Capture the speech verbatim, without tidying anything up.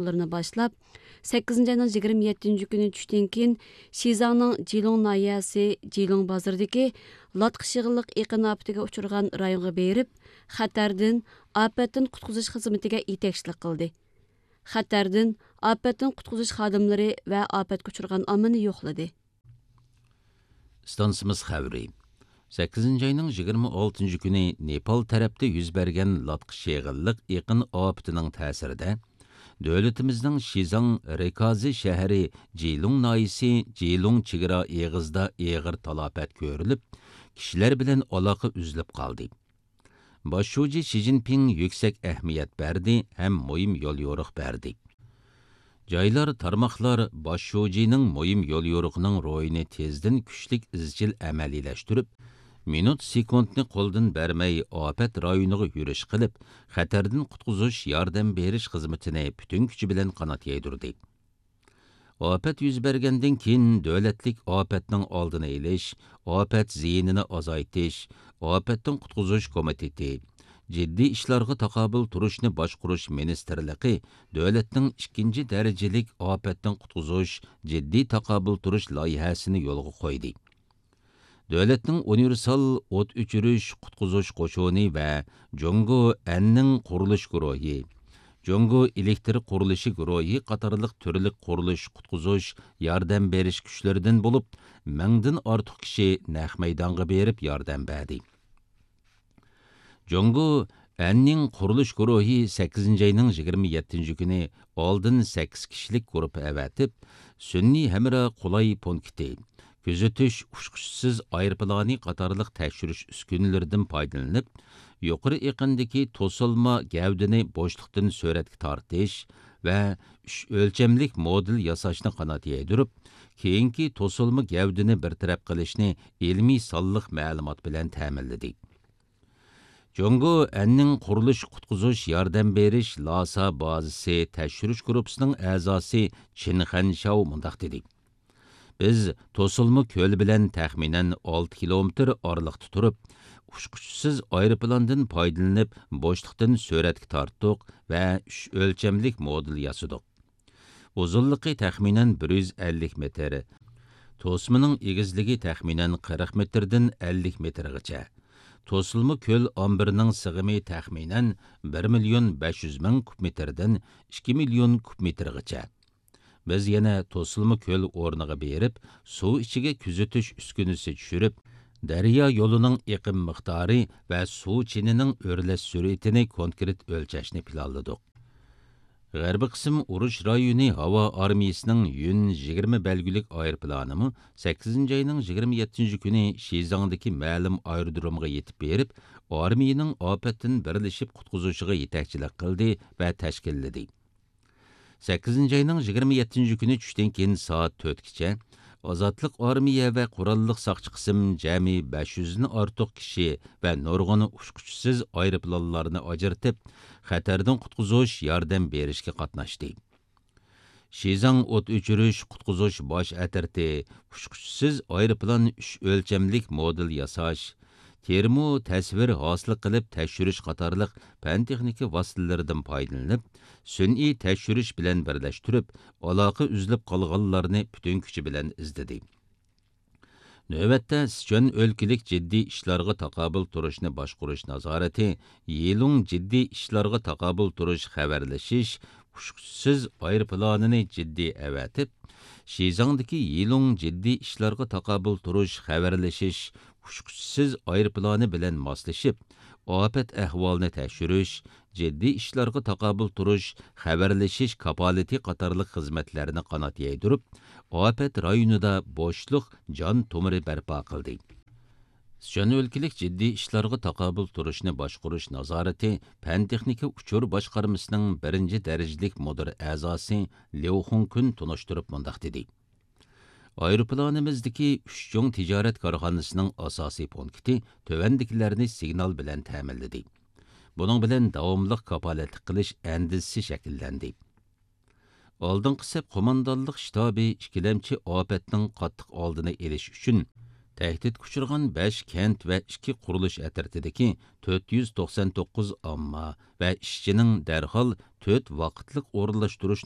ئايروپىلانلىرىنى باشلاپ، سەككىزىنچى ئاينىڭ يىگىرمە يەتتىنچى كۈنى چۈشتىن كېيىن شىزاڭنىڭ جىلۇڭ ناھىيەسى جىلۇڭ بازىرىدىكى لاتقىش يىغىنلىق ئېقىن ئاپىتىگە ئۇچرىغان رايونغا بېرىپ، خەتەردىن، ئاپەتتىن قۇتقۇزۇش خىزمىتىگە يېتەكچىلىك قىلدى. خەتەردىن، ئاپەتتىن قۇتقۇزۇش خادىملىرى ۋە ئاپەتكە ئۇچرىغان ئاممىنى يوقلىدى. ئىستانسىمىز خەۋىرى. سەككىزىنچى ئاينىڭ يىگىرمە ئالتىنچى كۈنى نېپال تەرەپتە يۈز بەرگەن لاتقىش يىغىنلىق ئېقىن ئاپىتىنىڭ تەسىرىدە، دۆلىتىمىزنىڭ شىزاڭ رېكازى شەھىرى جىلۇڭ ناھىيەسى جىلۇڭ چېگرا ئېغىزىدا ئېغىر تالاپەت كۆرۈلۈپ، كىشىلەر بىلەن ئالاقە ئۈزۈلۈپ قالدى. باش شۇجى شى جىنپىڭ يۈكسەك ئەھمىيەت بەردى ھەم مۇھىم يوليورۇق بەردى. جايلار، تارماقلار باش شۇجىنىڭ مۇھىم يوليورۇقىنىڭ روھىنى تېزدىن كۈچلۈك ئىزچىل ئەمەلىيلەشتۈرۈپ، مىنۇت سېكۇنتنى قولدىن بەرمەي ئاپەت رايونىغا يۈرۈش قىلىپ، خەتەردىن قۇتقۇزۇش ياردەم بېرىش خىزمىتىنى پۈتۈن كۈچى بىلەن قانات يايدۇردى. ئاپەت يۈز بەرگەندىن كېيىن، دۆلەتلىك ئاپەتنىڭ ئالدىنى ئېلىش، ئاپەت زىيىنىنى ئازايتىش، ئاپەتتىن قۇتقۇزۇش كومىتېتى، جىددىي ئىشلارغا تاقابىل تۇرۇشنى باشقۇرۇش مىنىستىرلىقى دۆلەتنىڭ ئىككىنچى دەرىجىلىك ئاپەتتىن قۇتقۇزۇش جىددىي تاقابىل تۇرۇش لايىھەسىنى يولغا قويدى. دۆلەتنىڭ ئۇنىۋېرسال ئوت ئۆچۈرۈش قۇتقۇزۇش قوشۇنى ۋە جۇڭگو ئەننىڭ قۇرۇلۇش گۇرۇھى، جۇڭگو ئېلېكتر قۇرۇلۇشى گۇرۇھى قاتارلىق تۈرلۈك قۇرۇلۇش قۇتقۇزۇش ياردەم بېرىش كۈچلىرىدىن بولۇپ، مىڭدىن ئارتۇق كىشى نەق مەيدانغا بېرىپ ياردەم بەردى. جۇڭگو ئەننىڭ قۇرۇلۇش گۇرۇھى سەككىزىنچى ئاينىڭ يىگىرمە يەتتىنچى كۈنى ئالدىن سەككىز كىشىلىك گۇرۇپپا ئەۋەتىپ، سۈنئىي ھەمراھ قولاي پونكىتى، كۆزىتىش ئۇچقۇچىسىز ئايروپىلانى قاتارلىق تەكشۈرۈش ئۈسكۈنىلىرىدىن پايدىلىنىپ، يۇقىرى ئېقىندىكى توسۇلما گەۋدىنى بوشلۇقتىن سۈرەتكە تارتىش ۋە ئۈچ ئۆلچەملىك مودېل ياساشنى قانات يايدۇرۇپ، كېيىنكى توسۇلما گەۋدىنى بىر تەرەپ قىلىشنى ئىلمىي سانلىق مەلۇمات بىلەن تەمىنلىدى. جۇڭگو ئەننىڭ قۇرۇلۇش قۇتقۇزۇش ياردەم بېرىش لاسا بازىسى تەكشۈرۈش گۇرۇپپىسىنىڭ ئەزاسى چىن خەنشاۋ مۇنداق دېدى: بىز توسۇلما كۆل بىلەن تەخمىنەن ئالتە كىلومېتىر ئارىلىقتا تۇرۇپ، ئۇچقۇچىسىز ئايروپىلاندىن پايدىلىنىپ، بوشلۇقتىن سۈرەتكە تارتتۇق ۋە ئۈچ ئۆلچەملىك مودېل ياسىدۇق. ئۇزۇنلۇقى تەخمىنەن بىر يۈز ئەللىك مېتىر، توسمىنىڭ ئېگىزلىكى تەخمىنەن قىرىق مېتىردىن ئەللىك مېتىرغىچە. توسۇلما كۆل ئامبىرىنىڭ سىغىمى تەخمىنەن بىر مىليون بەش يۈز مىڭ كۇب مېتىردىن ئىككى مىليون كۇب مېتىرغىچە. بىز يەنە توسۇلما كۆل ئورنىغا بېرىپ، سۇ ئىچىگە كۆزىتىش ئۈسكۈنىسى چۈشۈرۈپ، دەريا يولىنىڭ ئېقىم مىقدارى ۋە سۇ چېنىنىڭ ئۆرلەش سۈرئىتىنى كونكرېت ئۆلچەشنى پىلانلىدۇق. غەربىي قىسىم ئۇرۇش رايونى ھاۋا ئارمىيىسىنىڭ يۈن يىگىرمە بەلگىلىك ئايروپىلانىمۇ سەككىزىنچى ئاينىڭ يىگىرمە يەتتىنچى كۈنى شىزاڭدىكى مەلۇم ئايرودرومغا يېتىپ بېرىپ، ئارمىيىنىڭ ئاپەتتىن بىرلىشىپ قۇتقۇزۇشىغا يېتەكچىلىك قىلدى ۋە تەشكىللىدى. سەككىزىنچى ئاينىڭ يىگىرمە يەتتىنچى كۈنى چۈشتىن كېيىن سائەت تۆتكىچە ئازادلىق ئارمىيە ۋە قوراللىق ساقچى قىسىم جەمئىي بەش يۈزدىن ئارتۇق كىشى ۋە نۇرغۇن ئۇچقۇچىسىز ئايروپىلانلارنى ئاجرىتىپ، خەتەردىن قۇتقۇزۇش ياردەم بېرىشكە قاتناشتى. شىزاڭ ئوت ئۆچۈرۈش قۇتقۇزۇش باش ئەترىتى ئۇچقۇچىسىز ئايروپىلان ئۈچ ئۆلچەملىك مودېل ياساش، تېرمو تەسۋىر ھاسىل قىلىپ تەكشۈرۈش قاتارلىق پەن تېخنىكا ۋاسىتىلىرىدىن پايدىلىنىپ، سۈنئىي تەكشۈرۈش بىلەن بىرلەشتۈرۈپ، ئالاقە ئۈزۈلۈپ قالغانلارنى پۈتۈن كۈچى بىلەن ئىزدىدى. نۆۋەتتە، سىچۈەن ئۆلكىلىك جىددىي ئىشلارغا تاقابىل تۇرۇشنى باشقۇرۇش نازارىتى يىلۇڭ جىددىي ئىشلارغا تاقابىل تۇرۇش خەۋەرلىشىش ئۇچقۇچىسىز ئايروپىلانىنى جىددىي ئەۋەتىپ، شىزاڭدىكى يىلۇڭ جىددىي ئىشلارغا تاقابىل تۇرۇش خەۋەرلىشىش ئۇچقۇچىسىز ئايروپىلانى بىلەن ماسلىشىپ، ئاپەت ئەھۋالىنى تەكشۈرۈش، جىددىي ئىشلارغا تاقابىل تۇرۇش، خەۋەرلىشىش كاپالىتى قاتارلىق خىزمەتلەرنى قانات يايدۇرۇپ، ئاپەت رايونىدا بوشلۇق جان تومۇرى بەرپا قىلدى. سىچۈەن ئۆلكىلىك جىددىي ئىشلارغا تاقابىل تۇرۇشنى باشقۇرۇش نازارىتى پەن تېخنىكا ئۇچۇر باشقارمىسىنىڭ بىرىنچى دەرىجىلىك مۇدىر ئەزاسى ليۇ خۇڭكۈن تونۇشتۇرۇپ مۇنداق دېدى: ئايروپىلانىمىزدىكى ئۈچ چوڭ تىجارەت كارخانىسىنىڭ ئاساسىي پونكىتى تۆۋەندىكىلەرنى سىگنال بىلەن تەمىنلىدى. بۇنىڭ بىلەن داۋاملىق كاپالەتلىك قىلىش ئەندىزىسى شەكىللەندى. ئالدىنقى سەپ قوماندانلىق شتابى ئىككىلەمچى ئاپەتنىڭ قاتتىق ئالدىنى ئېلىش ئۈچۈن، تەھدىتكە ئۇچرىغان بەش كەنت ۋە ئىككى قۇرۇلۇش ئەترىتىدىكى تۆت يۈز توقسان توققۇز ئامما ۋە ئىشچىنىڭ دەرھال تۆت ۋاقىتلىق ئورۇنلاشتۇرۇش